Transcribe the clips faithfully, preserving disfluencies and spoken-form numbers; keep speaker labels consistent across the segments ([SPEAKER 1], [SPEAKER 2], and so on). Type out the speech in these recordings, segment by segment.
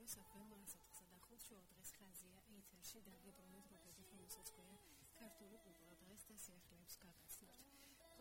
[SPEAKER 1] რადიოს აფემ ათსა და ხუთი შოუ დღეს ხაზია ეთერში დაგიბრუნეთ როგორც რომელსაც ქვია ქართული კულტურა დღეს და სიახლეებს გაგაცნობთ.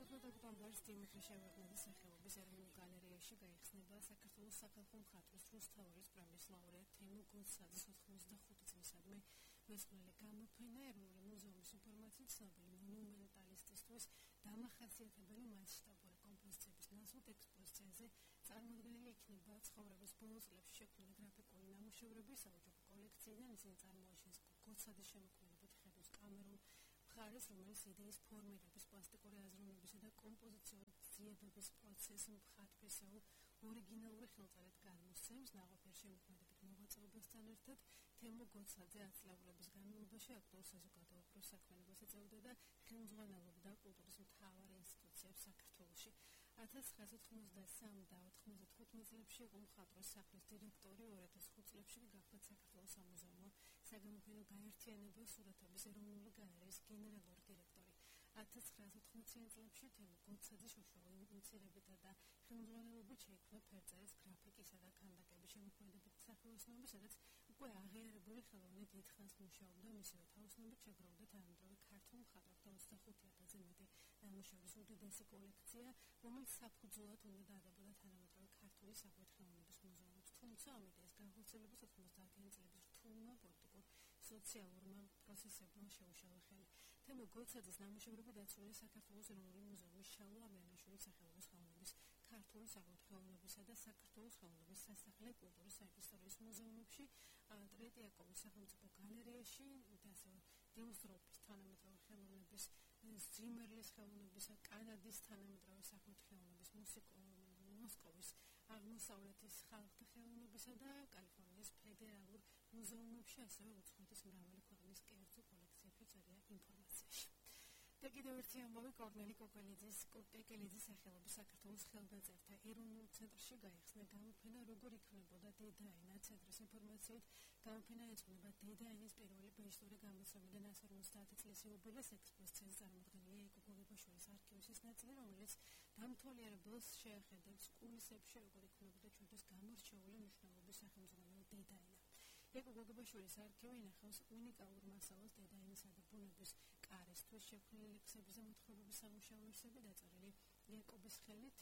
[SPEAKER 1] ოცდაოთხ ოქტომბერს დიმიტრი შევარდნაძის სახელობის ეროვნულ გალერეაში გაიხსნება საქართველოს სახალხო მხატვრის რუსთაველის პრემიის ლაურეატ თემო გოცაძის ოთხმოცდახუთი წლისადმი მეცხრე გამოფენა ეროვნული მუზეუმის ინფორმაციით ცნობილი მონუმენტალისტისთვის დამახასიათებელი მასშტაბური კომპოზიციების ნაცვლად ექსპოზიციაზე წარმოდგენილი იქნება ცხოვრების ბოლო წლებში შექმნილი გრაფიკული ნამუშევრები საოჯახო კოლექციიდან, ისინი წარმოაჩენს გოცაძის შემოქმედებით ხედვის კამერულ მხარეს, რომელიც იდეის ფორმირების, პლასტიკური აზროვნებისა და კომპოზიციური ძიებების პროცესს მხატვრისეულ ორიგინალური ხელწერით გადმოსცემს. ნაყოფიერ შემოქმედებით მოღვაწეობასთან ერთად თემო გოცაძე ათწლეულების განმავლობაში აქტუალურ საზოგადოებრივ საქმიანობას ეწეოდა და ხელმძღვანელობდა კულტურის მთავარ ინსტიტუციებს საქართველოში. ათას ცხრაასა ოთხმოცდასამი და ოთხმოცდათხუთმეტ წლებში იყო მხატვრის სახლის დირექტორი, ორ ათას ხუთ წლებში გახდა საქართველოს სამუზეუმო საგამოფენო გაერთიანებელ სურათების ეროვნული გალერეის გენერალური დირექტორი. ათას ცხრაასა ოცდაათმეტ წლებში თემო გოცაძის უშუალო ინიციირებითა და ხელმძღვანელობით შეიქმნა ფერწერის, გრაფიკისა და ქანდაკების შემოქმედებითი სახელოსნოები, სადაც უკვე აღიარებული ხელოვანი დიდხანს მუშაობდა. მისივე თაოსნობით შეგროვდა თანამედროვე ქართულ მხატვართა ოცდახუთი ათასზე მეტი ნამუშევრის უდიდესი კოლექცია, რომელიც საფუძვლად უნდა დადებოდა თანამედროვე ქართული საღვით ხელოვნების მუზეუმით. თუმცა ამ იდეის განხორციელებას ოცდაათმეტი წლების რთულმა პოლიტიკურ სოციალურმა პროცესებმა შეუშალა ხელი. თემო გოცაძის ნამუშევრები დაცულია საქართველოს ეროვნული მუზეუმის შალვა ამიანაშვილის სახელობის ხელოვნების ქართული საღვით ხელოვნებისა და საქართველოს ხელოვნების სასახლე კულტურის საისტორიო მუზეუმებში, ტრეტიაკოვის სახელმწიფო გალერეაში და ასევე დილსტროპის თანამედროვე ხელოვნების, ზიმერლის ხელოვნებისა, კანადის თანამედროვე საღვით ხელოვნების, მოსკოვის აღმოსავლეთის ხალხთა ხელოვნებისა და კალიფორნიის ფედერალურ მუზეუმებში, ასევე უცხოეთის მრავალი ქვეყნის კერძო კოლექციებში წერია ინფორმაციაში. და კიდევ ერთი ამბავი კორნელი კოკელიძის კოკელიძის სახელობის საქართველოს ხელნაწერთა ეროვნულ ცენტრში გაიხსნა გამოფენა როგორ იქნებოდა დედაენა. ცენტრის ინფორმაციით გამოფენა ეძღვნება დედაენის პირველი ბეჭდური გამოცემიდან ასერ ოცდაათი წლის იუბილეს. ექსპოზიციაზე წარმოდგენილია ეკო გოგებაშვილის არქივის ის ნაწილი, რომელიც დამთვალიერებელს შეახედებს კულისებში როგორ იქნებოდა ჩვენთვის გამორჩეული მნიშვნელობის სახელმძღვანელო დედაენა. ეკო გოგებაშვილის არქივი ინახავს უნიკალურ მასალას დედაენისა და ბუნების კარისთვის შექმნილი ლექსების და მოთხრობების სამუშაოებები, დაწერილი იაკობის ხელით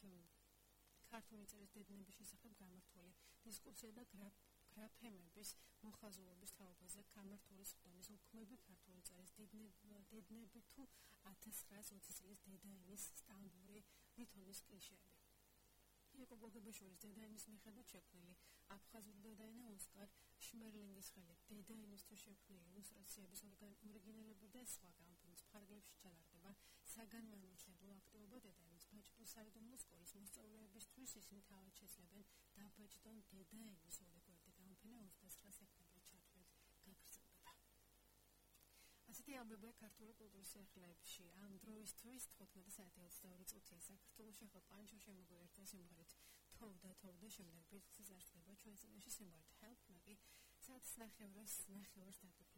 [SPEAKER 1] ქართული წერის დედნების შესახებ გამართული დისკუსია და გრაფემების მოხაზულობის თაობაზე გამართული სხდომის უქმები ქართული წერის დედნები თუ ათას ცხრაასა ოცი წლის დედაენის სტამბური ლითონის კლიშეები. ეკო გოგებაშვილის დედაენის მიხედვით შექმნილი აფხაზური დედაენა ოსკარ შმერლინგის ხელით დედაენისთვის შექმნილი ილუსტრაციების ორიგინალები და სხვა გამოფენის ფარგლებში ჩალარდება საგანმანათლებლო აქტივობა დედაენის ბაჭდო საიდუმლო სკოლის მოსწავლეებისთვის. ისინი თავად შეძლებენ დაბაჭდონ დედაენის ორი გვერდი. გამოფენა ოცდათვრამეტ სექტემბერში ჩათვლით გაგრძელდება. ასეთი ამბებია ქართული კულტურის სიახლეებში. ამ დროისთვის თხუთმეტი საათი ოცდაორი წუთია საქართველოში. ახლა პანჩოში მოგვიერთდა სიმღერით თოვდა თოვდა, შემდეგ ბიტლსის არსება ჩვენ წინაშე სიმღერით Help Me, საათის ნახევრას ნახევარს დაგიბრუნდით.